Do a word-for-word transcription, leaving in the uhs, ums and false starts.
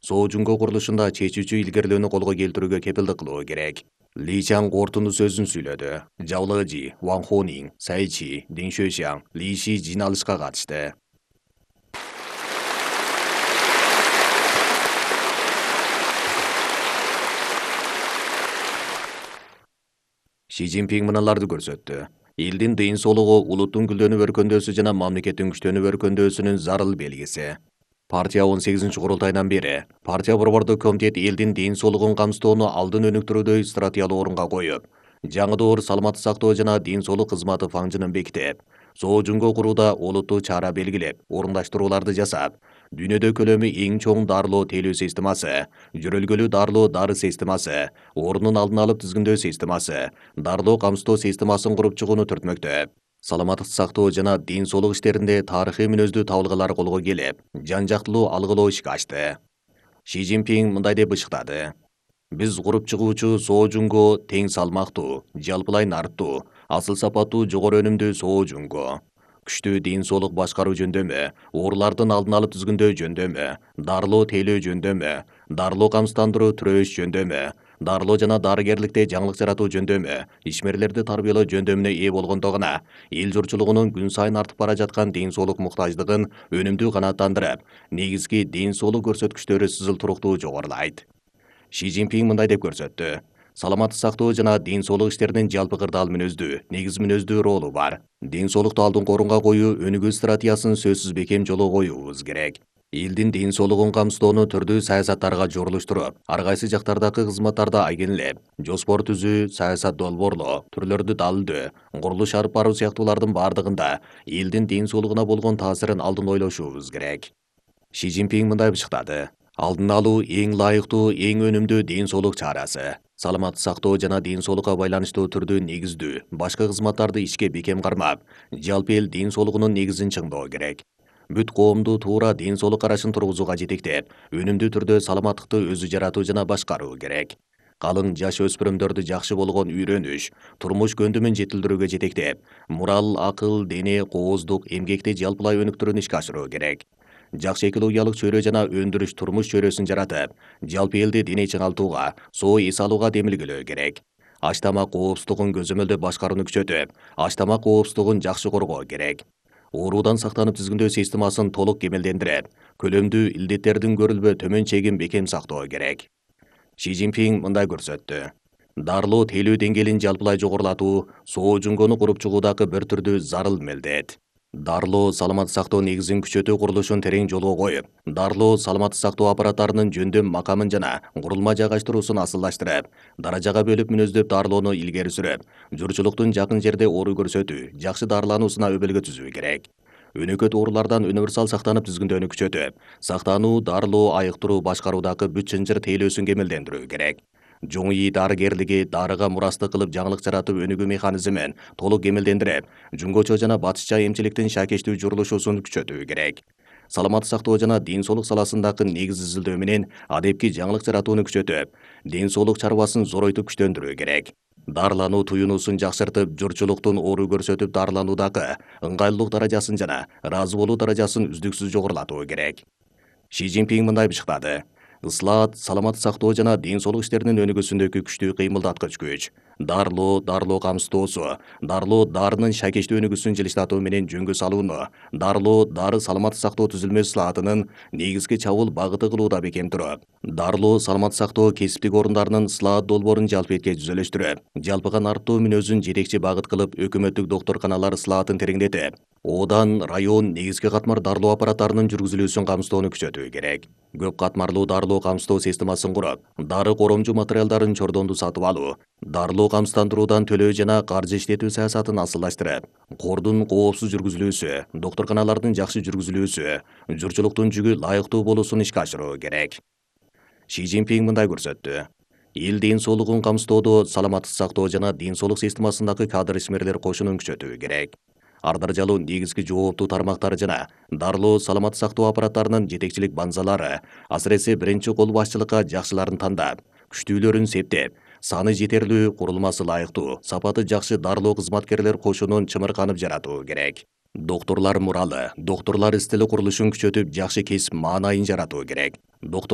Соо Жунго курулушунда чечүүчү илгерилөөнү колго келтирүүгө кепилдик кылуу керек. Ли Чан корутундуу сөзүн сүйлөдү. Жао Лежи, Ван Хонин, Цай Чи, Дин Шуэшан, Ли Ши жыйналышка катышты. Ши Цзиньпин мыналарды көрсөттү. Элдин ден соолугу улуттун гүлдөнүп өркөндөөсү жана мамлекеттин күчтөнүп өркөндөөсүнүн зарыл белгиси. Партия он сегизинчи курултайдан бери партия борбордук комитет элдин ден соолугун камсыздоону алдын өнүктүрүүдө стратегиялык орунга коюп, жаңы доор саламаттык сактоо жана ден соолук кызматы фаңжынын бекитип, Соо Жунго курууда олуттуу чара белгилеп, орундаштырууларды жасап, дүйнөдө көлөмү эң чоң дарылоо тейлөө системасы, жөрөлгөлүү дарылоо дары системасы, оорунун алдын алып тизгиндөө системасы, дарылоо камсыздоо системасын куруп чыгууну түртмөктөп, саламаттык сактоо жана ден соолук иштеринде тарыхый мүнөздүү табылгалар колго келип, жан жактылуу алгылоо ишке ачты. Ши Цзиньпин мындай деп ышыктады. Биз куруп чыгуучу Соо Жунго тең салмактуу, жалпылай нарттуу, асыл сапаттуу жогору өнүмдүү Соо Жунго. Күчтүү ден соолук башкаруу жөндөмү, оорулардын алдын алып тизгиндөө жөндөмү, дарылоо тейлөө жөндөмү, дарылоо камсыздандыруу түрөш жөндөмү, дарылоо жана дарыгерликте жаңылык жаратуу жөндөмү, ишмерлерди тарбиялоо жөндөмүнө ээ болгондо гана эл журтчулугунун күн сайын артып бара жаткан ден соолук муктаждыгын өнүмдүү канааттандырып, негизги ден соолук көрсөткүчтөрү сызыл туруктуу жогорулайт. Ши Цзиньпин мындай деп көрсөттү. Саламаттык сактоо жана ден соолук иштеринин жалпы кырдаал мүнөздүү, негиз мүнөздүү ролу бар. Ден соолукту алдыңкы орунга коюу өнүгүү стратегиясын сөзсүз бекем жолго коюубуз керек. Элдин ден соолугун камсыздоону түрдүү саясаттарга жорулуштуруп, ар кайсы жактардагы кызматтарды айгинелеп, жоспор түзүү, саясат долбоорлоо, түрлөрдү далилдөө, курулуш алып баруу сыяктуулардын бардыгында элдин ден соолугуна болгон таасирин алдын ойлошубуз керек. Ши Цзиньпин мындай бышыктады. Алдын алуу эң лайыктуу, эң өнүмдүү ден соолук чарасы. Саламаттык сактоо жана ден соолукка байланыштуу түрдүү негиздүү, башка кызматтарды ишке бекем кармап, жалпы эл ден соолугунун негизин чыңдоо керек. Бүт коомду туура ден соолук карашын тургузууга жетектеп, өнүмдүү түрдө саламаттыкты өзү жаратуу жана башкаруу керек. Калың жаш өспүрүмдөрдү жакшы болгон үйрөнүш, турмуш көндүмүн жетилдирүүгө жетектеп, мурал, акыл, дене, кооздук, эмгекти жалпылай өнүктүрүүнү ишке ашыруу керек. Жакшы экологиялык чөйрө жана өндүрүш турмуш чөйрөсүн жаратып, жалпы элди дене чыңалтууга, соо эс алууга демилгелөө керек. Аш тамак коопсуздугун көзөмөлдөп башкарууну күчөтүп, аш тамак коопсуздугун жакшы коргоо керек. Оорудан сактанып тизгиндөө системасын толук кемелдендирип, көлөмдүү илдеттердин көрүлбө төмөн чегин бекем сактоо керек. Ши Цзиньпин мындай көрсөттү. Дарылоо тейлөө деңгээлин жалпылай жогорулатуу Соо Жунгону куруп чыгуудагы бир түрдүү зарыл мелдет. Дарылоо саламаттык сактоо негизин күчөтүү курулушун терең жолго коюп, дарылоо саламаттык сактоо аппараттарынын жөндөм макамын жана курулма жайгаштыруусун асылдаштырып, даражага бөлүп мүнөздөп дарылоону илгери сүрүп, журтчулуктун жакын жерде оору көрсөтүү, жакшы дарылануусуна өбөлгө түзүү керек. Өнөкөт оорулардан универсал сактанып тизгиндөөнү күчөтүп, сактануу, дарылоо, айыктыруу, башкаруудагы бүт чынжыр тейлөөсүн кемелдендирүү керек. Жоң ии дарыгерлиги дарыга мурастык кылып жаңылык жаратып өнүгүү механизмин толук кемелдендирип, жунгочо жана батышча эмчиликтин шакештүү журулушусун күчөтүү керек. Саламаттык сактоо жана ден соолук саласындагы негиз изилдөө менен адепки жаңылык жаратууну күчөтүп, ден соолук чарбасын зоройтуп күчтөндүрүү керек. Дарылануу туюнуусун жакшыртып, журтчулуктун оору көрсөтүп дарылануудагы ыңгайлуулук даражасын жана ыраазы болуу даражасын үздүксүз жогорулатуу керек. Ши Цзиньпин мындай бышыктады. Ыслаат, саламаттык сактоо жана ден соолук иштеринин өнүгүүсүндөгү күчтүү кыймылдаткыч күч. Дарылоо, дарылоо камсыздоосу, дарылоо дарынын шакештүү өнүгүүсүн жылыштатуу менен жөнгө салууну, дарылоо дары саламаттык сактоо түзүлмө ыслаатынын негизги чабуул багыты кылууда бекем туруп, дарылоо саламаттык сактоо кесиптик орундарынын ыслаат долбоорун жалпы этке түзөлөштүрүп, жалпыга нарттуу мүнөзүн жетекчи багыт кылып, өкмөттүк доктурканалар ыслаатын тереңдетип, Одан район негизги катмар дарылоо аппараттарынын жүргүзүлүүсүн камсыздоону күчөтүү керек. Көп катмарлуу дарылоо камсыздоо системасын куруп, дары коромчу материалдарын чордонду сатып алуу, дарылоо камсыздандыруудан төлөө жана каржы иштетүү саясатын асылдаштырып, кордун коопсуз жүргүзүлүүсү, доктурканалардын жакшы жүргүзүлүүсү, журтчулуктун жүгү лайыктуу болуусун ишке ашыруу керек. Ши Цзиньпин мындай көрсөттү. Эл ден соолугун камсыздоодо саламаттык сактоо жана ден соолук системасындагы кадр ишмерлер кошунун күчөтүү керек. Ар даражалуу негизги жооптуу тармактар жана дарылоо саламаттык сактоо аппараттарынын жетекчилик базалары асыресе биринчи кол башчылыкка жакшыларын тандап, күчтүүлөрүн септеп, саны жетерлүү, курулмасы лайыктуу, сапаты жакшы дарылоо кызматкерлер кошунун чымырканып жаратуу керек. Доктурлар муралы, доктурлар истили курулушун күчөтүп, жакшы кесип маанайын жаратуу керек. Доктур